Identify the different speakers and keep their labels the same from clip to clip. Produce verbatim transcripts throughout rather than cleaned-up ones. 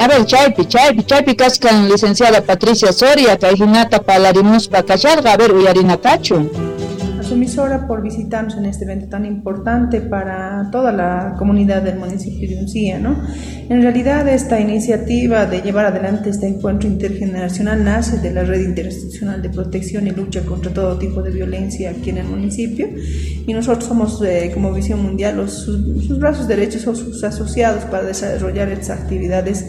Speaker 1: A ver, chaypi, chaypi, chaypi kaskan licenciada Patricia Soria, kay hinata palarimuspa kasharqa, a ver, uyarina kachun.
Speaker 2: A su emisora por visitarnos en este evento tan importante para toda la comunidad del municipio de Uncía, ¿no? En realidad, esta iniciativa de llevar adelante este encuentro intergeneracional nace de la Red Interinstitucional de Protección y Lucha contra todo tipo de violencia aquí en el municipio, y nosotros somos, eh, como Visión Mundial, los, sus, sus brazos derechos o sus asociados para desarrollar estas actividades,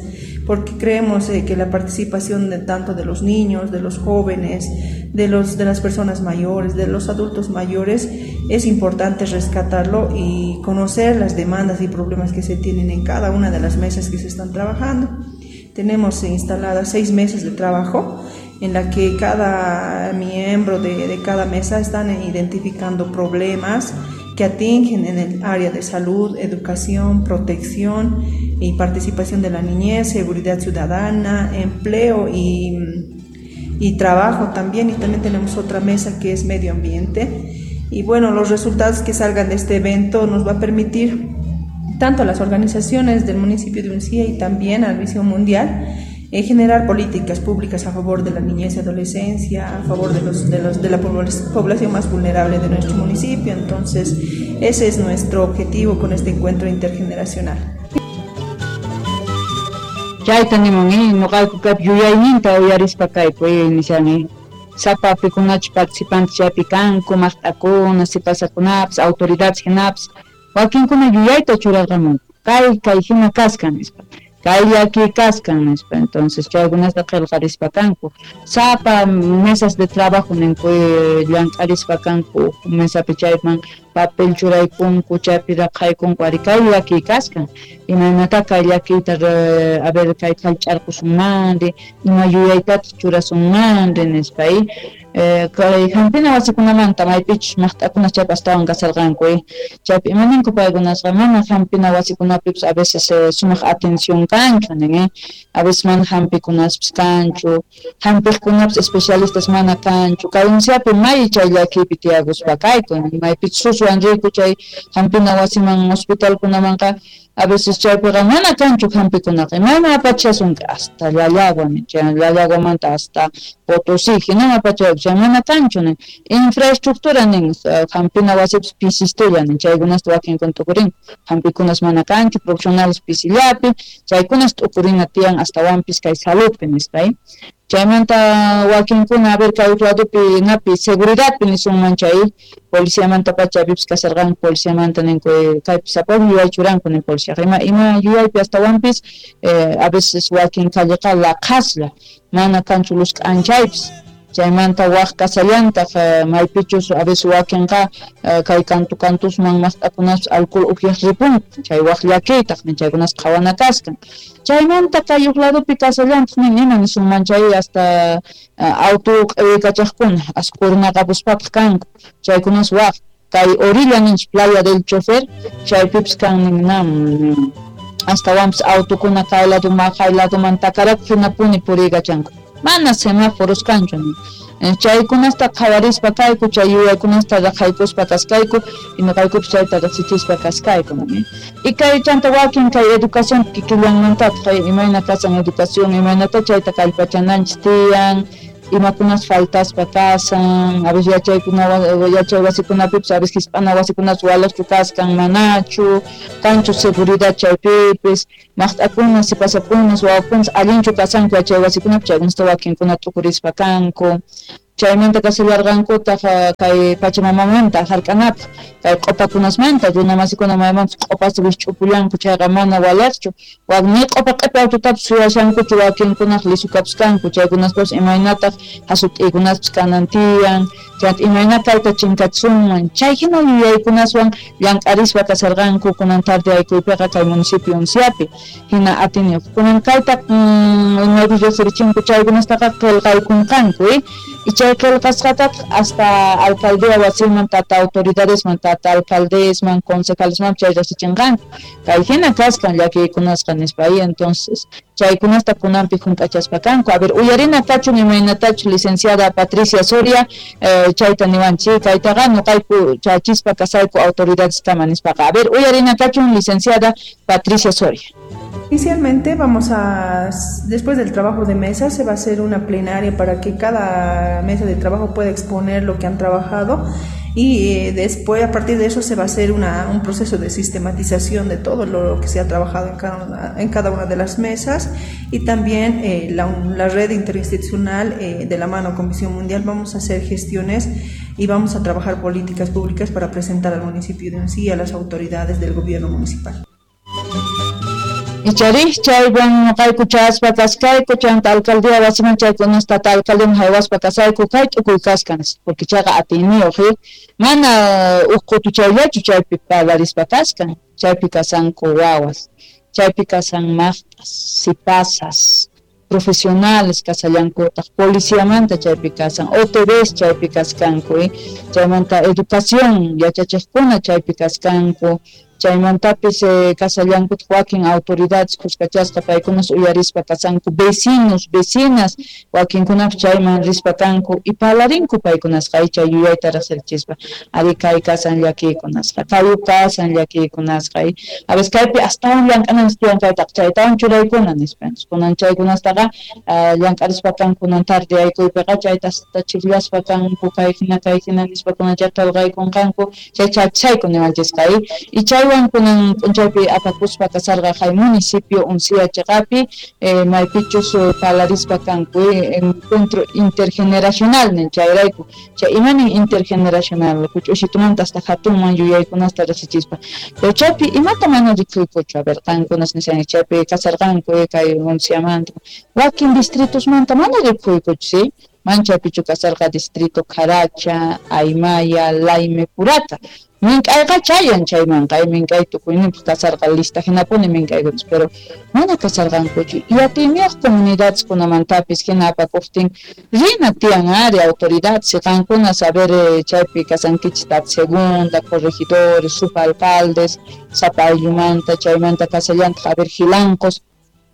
Speaker 2: porque creemos eh, que la participación de tanto de los niños, de los jóvenes, de los, de las personas mayores, de los adultos mayores, es importante rescatarlo y conocer las demandas y problemas que se tienen en cada una de las mesas que se están trabajando. Tenemos instaladas seis mesas de trabajo en la que cada miembro de, de cada mesa están identificando problemas que atingen en el área de salud, educación, protección y participación de la niñez, seguridad ciudadana, empleo y, y trabajo también. Y también tenemos otra mesa que es medio ambiente. Y bueno, los resultados que salgan de este evento nos va a permitir tanto a las organizaciones del municipio de Uncía y también a la Visión Mundial eh, generar políticas públicas a favor de la niñez y adolescencia, a favor de los, de los, de la población más vulnerable de nuestro municipio. Entonces, ese es nuestro objetivo con este encuentro intergeneracional.
Speaker 1: Chayta nimun, noqayku kaypi yuyayninta uyarispa kayku, nishani sapa pikunachu participantes chaypi kanku, maqt'akuna, sipasakunapas, autoridades hinapas, wakinkuna yuyayta churarqamunku, kay kay hina kaskan nispa, kay llaki kaskan nispa. Entonces chaykunata qillqarispa kanku, sapa mesas de trabajo ninku llank'arispa kanku, mesapi chayman papel churaykunku, chaypi raqhaykunku, ari kay llaki kaskan, imaynata kay llakiyta a ver kay qhallch'arqusunmanri, ima yuyaytataq churasunmanri nispa. Kay hampina wasikunamanta maypichus maqt'akuna chaypi astawan kasarqanku, chaypi imaninku paykunasqa mana hampina wasikunapipis a veces sumaq atención kanchu nin, a veces mana hampikunaspis kanchu, hampiqkunapis especialistas mana kanchu, kay Unciapi may chay llakiypi tiyakuspa kayku, maypichus suswan riku chay hampina wasiman hospitalkunamanqa a veces chaypiqa mana kanchu hampikunaqa, mana apachasunki hasta Llallagua, chay Llallaguamanta hasta Potosí, hinam apachayku, chay mana kanchu nin, infraestructura nin, hampina wasipis pisistilla nin, chaykunasta wakinkuna tukurin, hampikunas mana kanchu, profesionales pisillapi, chaykunas tukurina tiyan astawanpis kay saludpi nispa. Chaymanta wakinkuna a ver kay ladopi napi seguridadpi nisunman chay policiamanta pacha pipis kasarqanku, policiamanta ninku kaypi sapaq yuyay churanku nin policiaqa, ima ima yuyaypi astawanpis eh, a veces wakin calleqa laqhaslla, mana kanchu luz k'anchaypis. Chaymanta waq kasallantaq maypichus a veces wakinqa kay kantu kantusman maqt'akunapas alcohol upyaq ripunku, chay waq llakiytaq nin, chaykunas qhawana kaskan. Chaymanta kay uq ladopi kasallantaq nin, ima nisunman chay hasta auto q'iwikachaqkuna asqurnaqapuspataq kanku, chaykunas waq kay orilla ninchik playa del chofer, chaypipis kan nin nam astawanpis autokuna kay ladoman kay ladoman takarakuq hinapuni puriykachanku, mana semáforos kanchu nin. Chaykunasta qhawarispa kayku, chay yuyaykunasta raqhaykuspa kaskayku, y noqaykupis chayta riqsichispa kaskayku nin. Y kay chanta wakin kay educación kikillanmantataq, imayna kasan educación, imaynata chayta kallpachananchis tiyan, imakunas faltaspa kasan, a veces yachaykuna yachay wasikunapipis a veces hisp'ana wasikunas walaqchu kaskan manachu, kanchu seguridad chaypipis, maqt'akuna, sipasakunas, wawakunas allinchu kasanku yachay wasikunapi, chaykunasta wakinkuna t'ukurispa kanku. Chaymanta kasillarqankutaq kay pachamamamanta hark'anapaq, kay q'upakunasmanta, runamasikuna maymanpis q'upasta wikch'upullanku, chayqa mana walaqchu, wak ni q'upa q'ipi autotapis suyashankuchu, wakinkunaq lisukapis kanku, chaykunaspapis imaynataq hasut'iykunaspis kanan tiyan, chayta imayna kayta chinkachisunman, chay hina yuyaykunaswan llank'arispa kasarqanku kunan tarde aykuypiqa kay municipio Unciapi, hina atiniyuq. Kunan kayta maypis riqsirichinku chaykunastaqa qillqaykunqanku, y chay qillqasqatataq hasta alcaldía wasiman, tata autoridadesman, tata alcaldesman, concejalesman chay riqsichinqanku, kay hina kaskan llakiykunasqa nispa. Ahí entonces chaykunasta kunanpi hunt'achaspa kanku. A ver, uyarina kachun imaynatachu licenciada Patricia Soria eh, chayta niwanchik, kaytaqa noqayku chachispa kasayku autoridades kama nispaqa. A ver, uyarina kachun licenciada Patricia Soria.
Speaker 2: Inicialmente vamos a, después del trabajo de mesa, se va a hacer una plenaria para que cada mesa de trabajo pueda exponer lo que han trabajado y después a partir de eso se va a hacer una, un proceso de sistematización de todo lo que se ha trabajado en cada una, en cada una de las mesas y también eh, la, la red interinstitucional eh, de la mano con Visión Mundial vamos a hacer gestiones y vamos a trabajar políticas públicas para presentar al municipio de Uncía y a las autoridades del gobierno municipal.
Speaker 1: Icharij chaywan noqayku chaspa kaskayku chanta alcaldía wasiman chaykunasta alcaldeman haywaspa kasayku kay tukuy kaskan porque chayqa atiyniyuq mana uj qutuchayllachu chaypi parlarispa kaskan chaypi kasanku wawas chaypi kasan maqtas sipasas profesionales kasallankutaq policiamanta chaypi kasan O T Bs chaypi kaskanku chaymanta educación yachachiqkuna chaypi kaskanku chaymantapis eh, kasallankutaq wakin autoridades kuskachasqa paykunas uyarispa kasanku vecinos vecinas wakinkunapis chayman rispa kanku y parlarinku paykunasqa chay yuyayta riqsirichispa ari kay kasan llakiykunasqa kayu kasan llakiykunasqa a veces kaypi astawan llank'ananchis tiyan kaytaqa chaytawan churaykuna nispanchis kunan chaykunastaqa llank'arispa kan kunan tarde aykuypiqa chayta chirllaspa kanku kay hina kay hina nispa kunan chay qillqaykunqanku chay chachayku niwanchisqa y chay kunan p'unchaypi apakuspa kasarqa kay municipio Uncía chiqapi eh, maypichus parlarispa kanku encuentro intergeneracional nin chayrayku chay imanin intergeneracional huch'uysitumanta hasta hatunman yuyaykunasta riqsichispa pero chaypi imata mana rikuykuchu a ver qankunas nishanchik chaypi kasarqanku kay Unciamanta wakin distritosmanta mana rikuykuchu sí manchaypichu kasarqa distrito Caracha, Aymaya, Laime, Purata mink'ayqa chayan chaymanqa mink'ay tukuyninpaq kasarqa lista hinapuni mink'aykunas pero mana kasarqankuchu y atiyniyuq comunidadeskunamantapis hina apakuqtin rina tiyan ari autoridades qankuna saber chaypi kasankichis tata segunda, corregidores, subalcaldes, sapa ayllumanta chaymanta kasallantaq a ver jilancos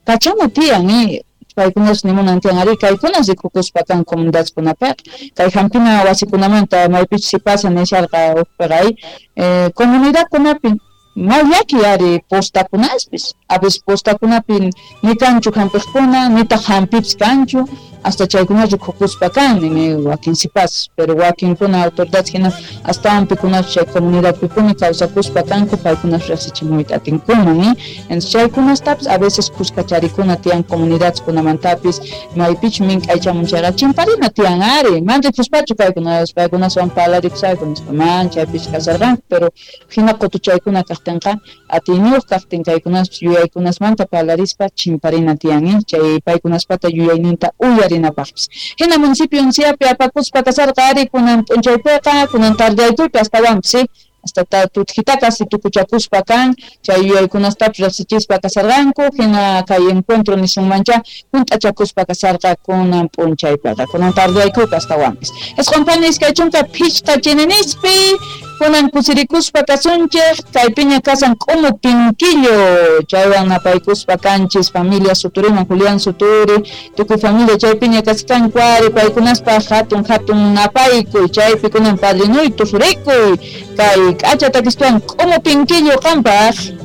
Speaker 1: kachana tiyan eh paykunas nimunan tiyan ari kaykunas rikukuspa kan comunidadeskunapiqa kay hampina wasikunamanta maypichus sipasa nisharqa uqpiqa eh, comunidadkunapi may llaki ari postakunaspis a veces postakunapi ni kanchu hampiqkuna nitaq hampipis kanchu hasta chaykuna rikukuspa kan nini wakin sipas pero wakinkuna autoridades hina astawan pikunas chay comunidadpipuni kawsakuspa kanku paykunas riqsichimuyta atinkuna ni entonces chaykunastapis a veces kuskacharikuna tiyan comunidadeskunamantapis maypichu mink'aychamun chayqa chimparina tiyan ari man rikuspachu paykunas paykunaswan parlarikusayku nispa man chaypichu kasarqanku pero hina qutuchaykuna kaqtinqa atiyniyuq kaqtin kaykunaspis yuyaykunasmanta parlarispa chimparina tiyan chay paykunaspata yuyayninta uyarinapaqpis hina municipio Unciapi apakuspa kasarqa ari kunan p'unchaypiqa kunan tardeaykuypi astawanpis sí hasta tutjita casi tukuchakuspa kan chay yuyaykunastapis riqsichispa kasarqanku hina kay encuentro nisunmancha hunt'achakuspa kasarqa kunan p'unchaypiqa kunan tardeaykuypi astawanpis isqun iskay chunka phichqa chininispi kunan kusirikuspa kasunchik kaypiña kasan k'umu pinkillo chaywan napaykuspa kanchis familia Suturiman Julián Suturi tukuy familia chaypiña kaskanku ari paykunaspaq hatun hatun napaykuy chaypi kunan padrinuytu surikuy kay k'acha takistuwan k'umu pinkillo qampaq.